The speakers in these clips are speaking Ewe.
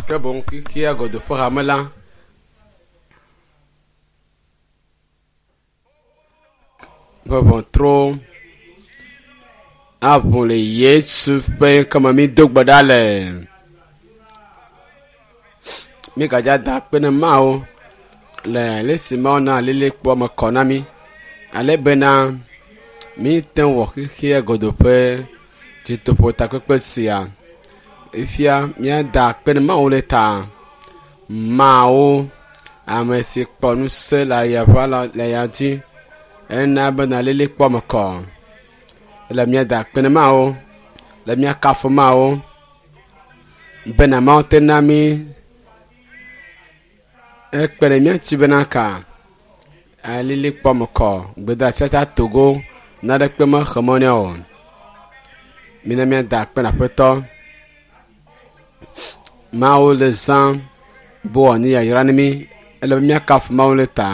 Ke boŋ xexea godoo ƒe hame la ƒe ʋɔtru aʋu le Yesu ƒe ŋkɔme mído gbe ɖa le. Mígadza da akpe ne Mawu le ale si Mawu na alilikpoa me kɔ na mí ale bena míte ŋu wɔ xexea godoo ƒe dzitoƒo takpekpe sia. Fifia míada akpe ne Mawu le ta. Mawu, ame si kpɔ ŋusẽ le aya ʋa le ya dzi ena bena alilikpoa me kɔ. Ele míada akpe ne Mawu, le míakafu Mawu bena Mawu te na mí ekpe ɖe mía ŋuti bena ka alilikpoa me kɔ gbedeasia tsa togo naɖekpe mexe mɔ nɛ o. Mina míada akpe na Aƒetɔ. Mawu le zã be wòanye yayra na mí. Ele be míakafu Mawu le ta.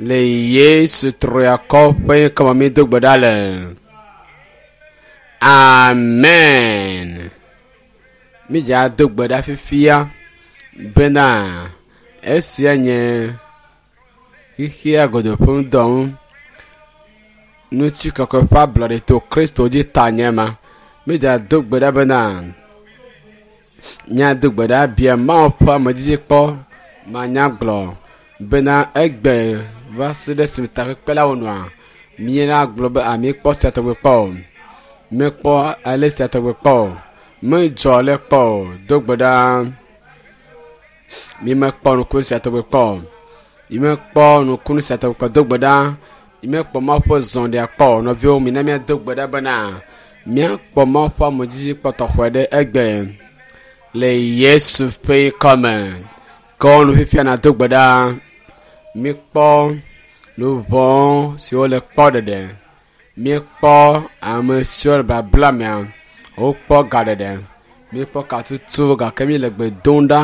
Le Yesu triakɔ ƒe ŋkɔme mído gbe ɖa le. Amen. Mídza do gbe ɖa fifia bena esia nye xexea godoo ƒe ŋdɔ ŋu. Ŋutikɔkɔe ƒe ablɔɖe to Kristo dzi ta nye ma. Mídza do gbe ɖa bena míado gbe ɖa bia Mawu ƒe amedzidzi kpɔ manyagblɔ bena egbe va se ɖe esime takpekpe la wonɔa míena gblɔ be a míekpɔ sia tɔgbe kpɔ o. Míekpɔ ale sia tɔgbe kpɔ o. Medzɔ le kpɔ o. Do gbe ɖa. Mímekpɔ nukunu sia tɔgbe kpɔ o. Mímekpɔ nukunu sia tɔgbe kpɔ. Do gbe ɖa. Mímekpɔ Mawu ƒe zɔɖia kpɔ o. Nɔviwo, mina míado gbe ɖa bena míakpɔ Mawu ƒe amedzidzi kpɔ tɔxɛ ɖe egbe le Yesu ƒe ŋkɔme. Ke nu fifia nàdo gbe ɖa. Míkpɔ nu vɔ̃ siwo le kpɔ ɖeɖe. Míekpɔ ame siwo le babla mea wokpɔ ga ɖeɖe. Míekpɔ katutu gake míele gbe dom ɖa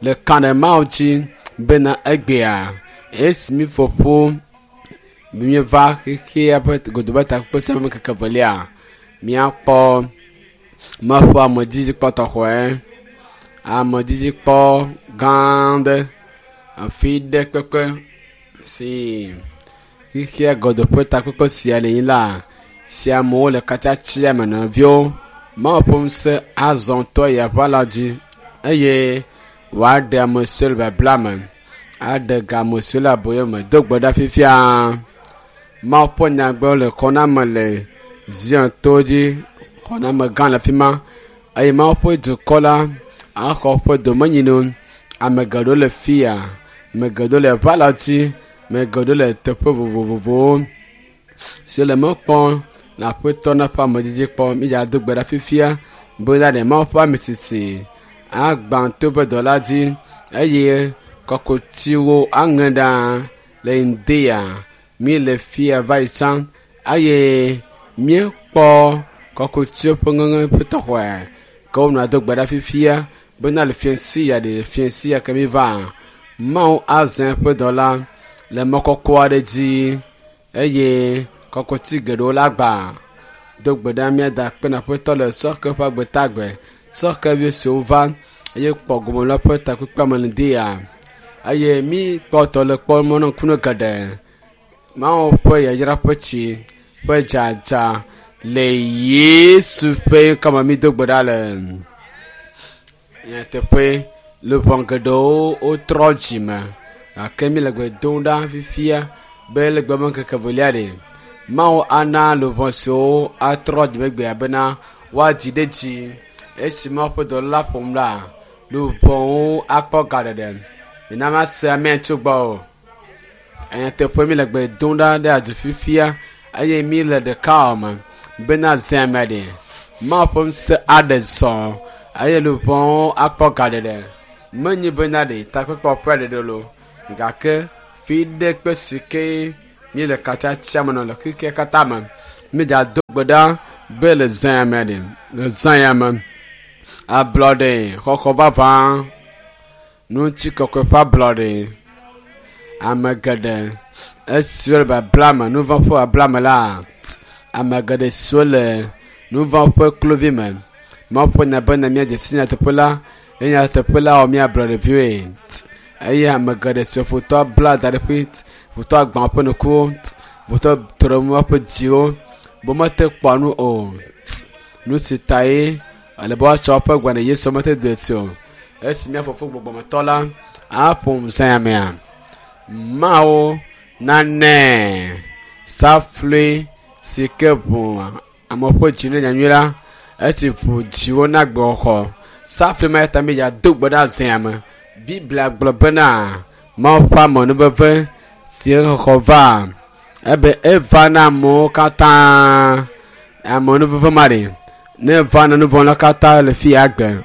le ka ɖe Mawu dzi bena egbea esi míƒo ƒu míeva xexea ƒe godoo ƒe takpekpe sia ƒe ŋkeke evelia míakpɔ Mawu ƒe amedzidzi kpɔ tɔxɛ. Amedzidzi kpɔ gã aɖe afi ɖe kpekpe si xexea godoo ƒe takpekpe sia le anyi la si amewo le katsatsia me nɔviwo. Mawu ƒe ŋusẽ azɔ to eya ƒe ala dzi eye wòaɖe ame siwo le babla me, aɖe ga ame siwo le aboyo me. Do gbe ɖa fifia. Mawu ƒe nyagblɔ le xɔname le Zion to dzi, xɔname gã le afi ma eye Mawu ƒe dukɔ la axɔ woƒe domenyinu. Ame geɖewo le fia, ame geɖewo le ʋa la dzi, ame geɖewo le teƒe vovovowo si le mɔ kpɔm le aƒetɔ na ƒe amedzidzi kpɔ. Mídza do gbe ɖa fifia be ɖe Mawu ƒe ame sisi agbã to ƒe dɔ la dzi eye kɔkutiwo aŋe ɖa le ŋdea míele fia va yi tsã eye míekpɔ kɔkutiwo ƒe ŋeŋe ƒe tɔxɔe ke wonɔa do gbe ɖa fifia bena le fiẽsi ya ɖe fiẽsi ya ke míva Mawu azã eƒe dɔ la le mɔ kɔkɔ aɖe dzi eye kɔkuti geɖewo la gbã. Do gbe ɖa míada akpe na Aƒetɔ le sɔhɛ ƒe agbetagbe. Sɔhɛvi siwo va eye kpɔ gome le woƒe takpekpea me le ŋdi ya eye míkpɔtɔ le kpɔ mɔ na ŋkunu geɖe. Mawu ƒe yayra ƒe tsi ƒe dzadza le Yesu ƒe ŋkɔme mído gbe ɖa le. Nyateƒe luʋɔ geɖewo wotrɔ dzime gake míle gbe dom ɖa fifia be le gbe me ŋkeke evelia ɖe Mawu ana luʋɔ siwo atrɔ dzime gbea bena woadzi ɖe dzi esi Mawu ƒe dɔla ƒom la luʋɔwo akpɔ ga ɖeɖe. Mina mase amea tso gbɔ o. Nyateƒe míle gbe dom ɖa ɖe adu fifia eye míle ɖeka me bena zã me ɖe Mawu ƒe ŋusẽ aɖe zɔ eye luʋɔwo akpɔ ga ɖeɖe. Menye bena ɖe takpekpe ƒe ɖeɖe lo gake fi ɖe kpe si ke míele katsatsia me nɔ le xexea katã me. Mídza do gbe ɖa be le zã me ɖe le zã ya me ablɔɖe xɔxɔ vavã ŋutikɔkɔe ƒe ablɔɖe ame geɖe esiwo le babla me nuvɔ̃ ƒe babla me la ame geɖe siwo le nuvɔ̃ ƒe kluvi me Mawu ƒe nya bena míadze si nyateƒe la Ye nyateƒe la wɔ mía ablɔɖeviwoe. Eye ame geɖe siwo futɔ bla da ɖe ƒe futɔ gbã woƒe ŋkuwo, futɔ trɔ woƒe dziwo be womete kpɔa nu o. Nu si tae ele be woatsɔ woƒe agbe na Yesu mete de si o. Esi mía fofo gbɔgbɔmetɔ la aƒo zã mea, Mawu nanɛ saflui si ke ʋu ame ƒe dzi ne nyanyui la, esi ʋu dziwo na gbɔxɔ. Saflui ma ta mi ya do gbe ɖa zã me. Biblia gblɔ bena Mawu ƒe amenuveve si xɔxɔ va ebe eva na amewo katã. Amenuveve ma ɖe ne va na nuvɔ̃la katã le fi ya gbe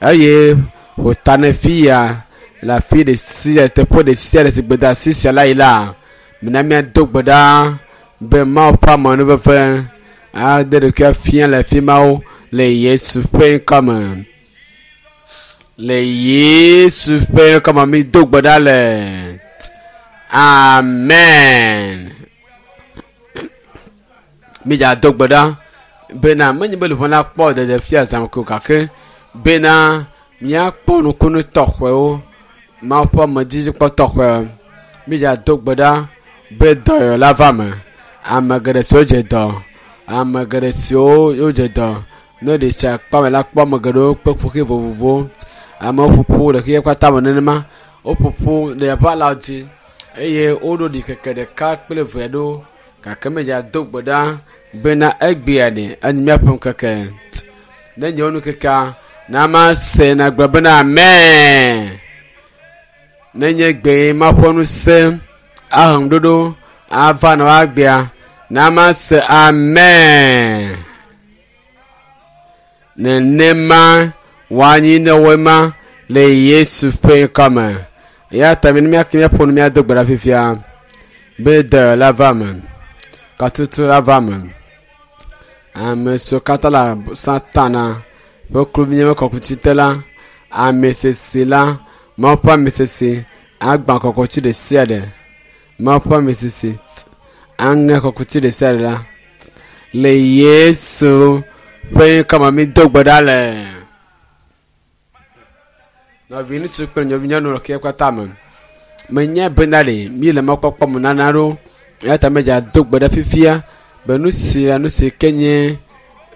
eye wòta ne fi ya le afi ɖe sia teƒe ɖe sia ɖe si gbedeasi sia la yi la mina míado gbe ɖa be Mawu ƒe amenuveve ade ɖokuia fia le afi mawo le Yesu ƒe ŋkɔ me. Le Yesu ƒe ŋkɔ me mi do gbe ɖa le. Amen. Mi dza do gbe ɖa bena menye be luʋɔ la kpɔ ɖeɖe fia zã ko gake bena míakpɔ nukunu tɔxɛwo Mawu ƒe amedzikpɔ tɔxɛ. Mi dza do gbe ɖa be dɔyɔ la va me. Ame geɖe siwo dze dɔ, ame geɖe siwo wodze dɔ ne ɖe tsia kpɔ ame la kpɔ ame geɖewo kpe ƒoxi vovovowo. Amewo ƒoƒu le xexea katã me nenema. Woƒoƒu le aʋa la dzi eye woɖo ɖikeke ɖeka kple eve aɖewo gake me dza do gbe ɖa bena egbea ɖe enye míaƒe ŋkeke. Ne nye wo nukekea na ma se na gblɔ bena amen. Ne nye gbe ma ƒe ŋusẽ ahe ŋuɖoɖo ava na woagbea na ma se amen. Nenema woanyi ne woe ma le Yesu ƒe ŋkɔ me. Eya ta mi ne míake míaƒo nu míado gbe ɖa fifia be dɔyɔ la va me, katutu la va me. Ame siwo katã le Satana ƒe kluvinyenye ƒe kɔkuti te la, ame sese la, Mawu ƒe ame sese agbã kɔkuti ɖe sia ɖe. Mawu ƒe ame sese aŋe kɔkuti ɖe sia ɖe la. Le Yesu ƒe ŋkɔ me mi do gbe ɖa le. Nɔvi ŋutsu kple nɔvi nyɔnu le xexea katã me. Menye bena ɖe mi le mɔkpɔkpɔ me nana ɖo eya ta medza do gbe ɖe fifia be nu sia nu si ke nye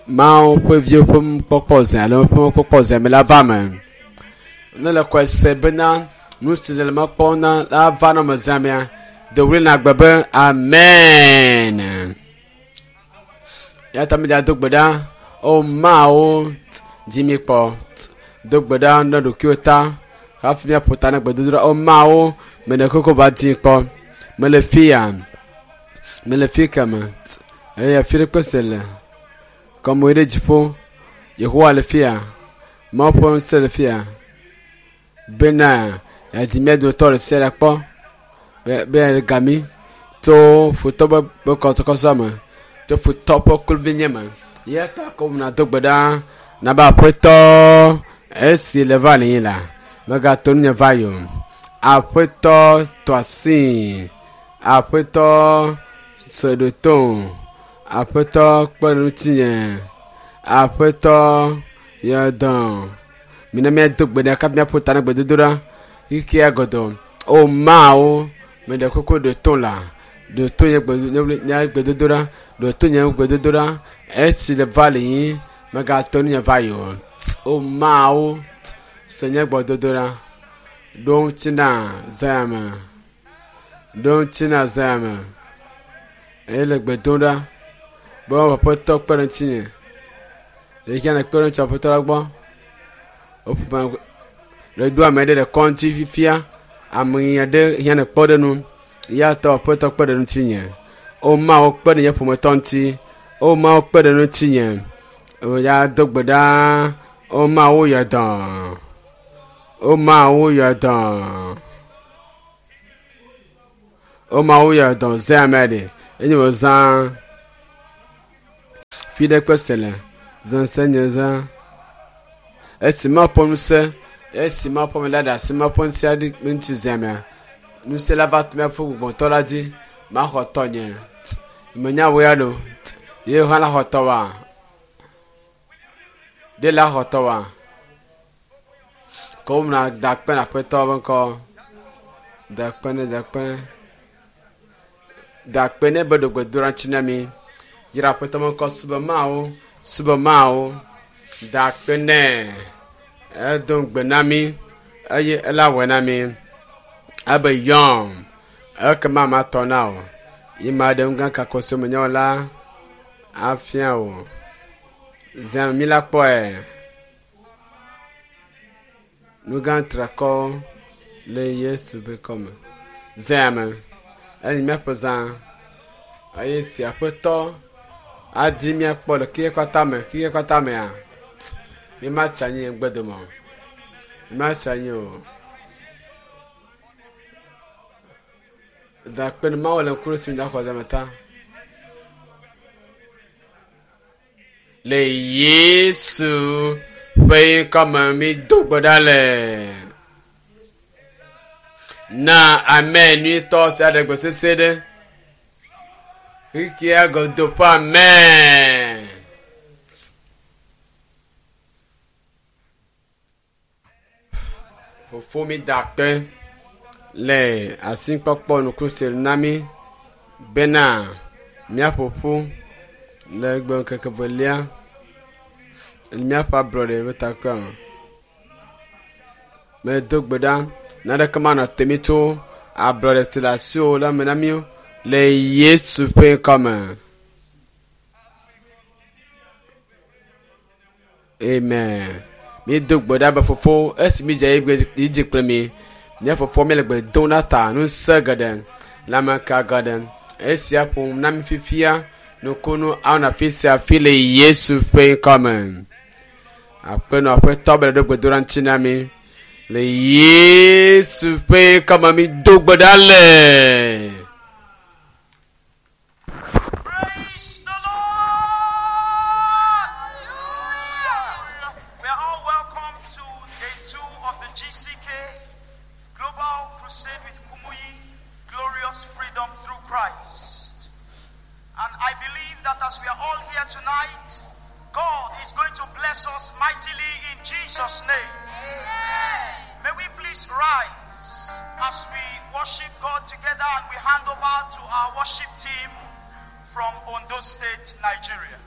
Mawu ƒe viwo ƒe nukpɔkpɔ zã alo ƒe mɔkpɔkpɔ zã me la va me. Ne le kɔe se bena nu si le mɔ kpɔm na la va na me zã mea, do ɣli na gbe be amen. Eya ta medza do gbe ɖa o Mawu dzi mi kpɔ. Do gbe ɖa ne ɖokuiwò ta hafi míaƒo ta na gbedodoɖa. O Mawu, mene koko va dzi kpɔ. Mele fi ya, mele fi keme eye afi ɖe kpe se le. Kɔmoe ɖe dziƒo. Yehowa le fi ya. Mawu ƒe ŋusẽ le fi ya. Bena yeadi mía dometɔ ɖe sia ɖe kpɔ be be yeaɖe ga mí tso futɔ ƒe ƒe kɔsɔkɔsɔ me, tso futɔ ƒe kluvinyenye me. Eya ta ko nàdo gbe ɖa na be Aƒetɔ esi le va li la, megato nunye va yi o. Aƒetɔ tɔ asii. Aƒetɔ se ɖo to. Aƒetɔ kpe ɖe ŋutinye. Aƒetɔ yɔ dɔ. Mina míado gbe ɖa kafi míaƒo ta na gbedodoɖa xexea godoo. O Mawu, meɖe kuku ɖo to la. Ɖo to nye gbe nye gbedodoɖa. Ɖo to nye gbedodoɖa. Esi le va li yi, megato nunye va yi o. O Mawu, se nye gbedodoɖa. Ɖo ŋuti na zã me. Ɖo ŋuti na zã me. Eye le gbe dom ɖa be Aƒetɔ kpe ɖe ŋutinye. Ɖe ke ne kpe ɖe ŋuti Aƒetɔ la gbɔ. Woƒo le ɖo ame ɖe le kɔŋti fifia. Ame aɖe hiã ne kpɔ ɖe nu. Eya ta Aƒetɔ kpe ɖe ŋutinye. O Mawu kpe ɖe nye ƒometɔ ŋuti. O Mawu kpe ɖe ŋutinye. O ya do gbe ɖa. O Mawu yɔ dɔ. O Mawu yɔ dɔ. O Mawu yɔ dɔ zã ame ɖe. Enye wò zã. Fi ɖe kpe se le. Zã se nye zã. Esi Mawu ƒe ŋusẽ, esi Mawu ƒe ame la ɖe asi Mawu ƒe ŋusẽ aɖe ŋuti zã mea, ŋusẽ la va to míaƒe gbɔgbɔtɔ la dzi. Maxɔ tɔnye. Menya wò ya lo. Ye hã la xɔ tɔwòa? Ɖe la xɔ tɔwòa? Ko na da akpe na aƒetɔ be ŋkɔ. Da akpe ne, da akpe ne. Da akpe ne be ɖo gbedoɖa ŋuti na mi. Yra aƒetɔ be ŋkɔ subɔ Mawu, subɔ Mawu. Da akpe nɛ. Edo ŋugbe na mi eye ela wɔe na mi. Ebe yɔm ekema matɔ na wò. Yi maɖe nu gã kako si menye o la afia wò. Zã mi la kpɔe. Nu gã trakɔwo le Yesu ƒe kɔme. Zã me enyi míaƒe zã eye si aƒetɔ adi míakpɔ le xexea katã me xexea katã mea mímatsi anyi ŋgbedome o. Mímatsi anyi o. Da akpe ne Mawu le ŋku ɖe si mi da xɔ zã me ta. Le Yesu ƒe ŋkɔme mi do gbe ɖa le. Na amen nyuitɔ sia ɖe gbe sese ɖe. Xixia godo ƒe amen. Fofo mi da akpe le asikpɔkpɔ nuku si na mi bena míaƒo ƒu le egbe ŋkeke velia le míaƒe ablɔɖe ƒe takpea me. Medo gbe ɖa naneke manɔ te mi tso ablɔɖe si le asiwò la me na mí le Yesu ƒe ŋkɔme. Amen. Mído gbe ɖa be fofo esi mídze yi dzi kple mi. Mía fofo míele gbe dom ɖa ta ŋusẽ geɖe, lãmeka geɖe. Esia ƒom na mí fifia nukunu anɔ afi sia afi le Yesu ƒe ŋkɔ me. Aƒenɔ aƒetɔ be ɖo gbedoɖa ŋuti na mí. Le Yesu ƒe ŋkɔ me mído gbe ɖa le. Praise the Lord! We are all welcome to day two of the GCK Global Crusade with Kumuyi, Glorious Freedom Through Christ. And I believe that as we are all here tonight, God is going to bless us mightily in Jesus' name. May we please rise as we worship God together and we hand over to our worship team from Ondo State, Nigeria.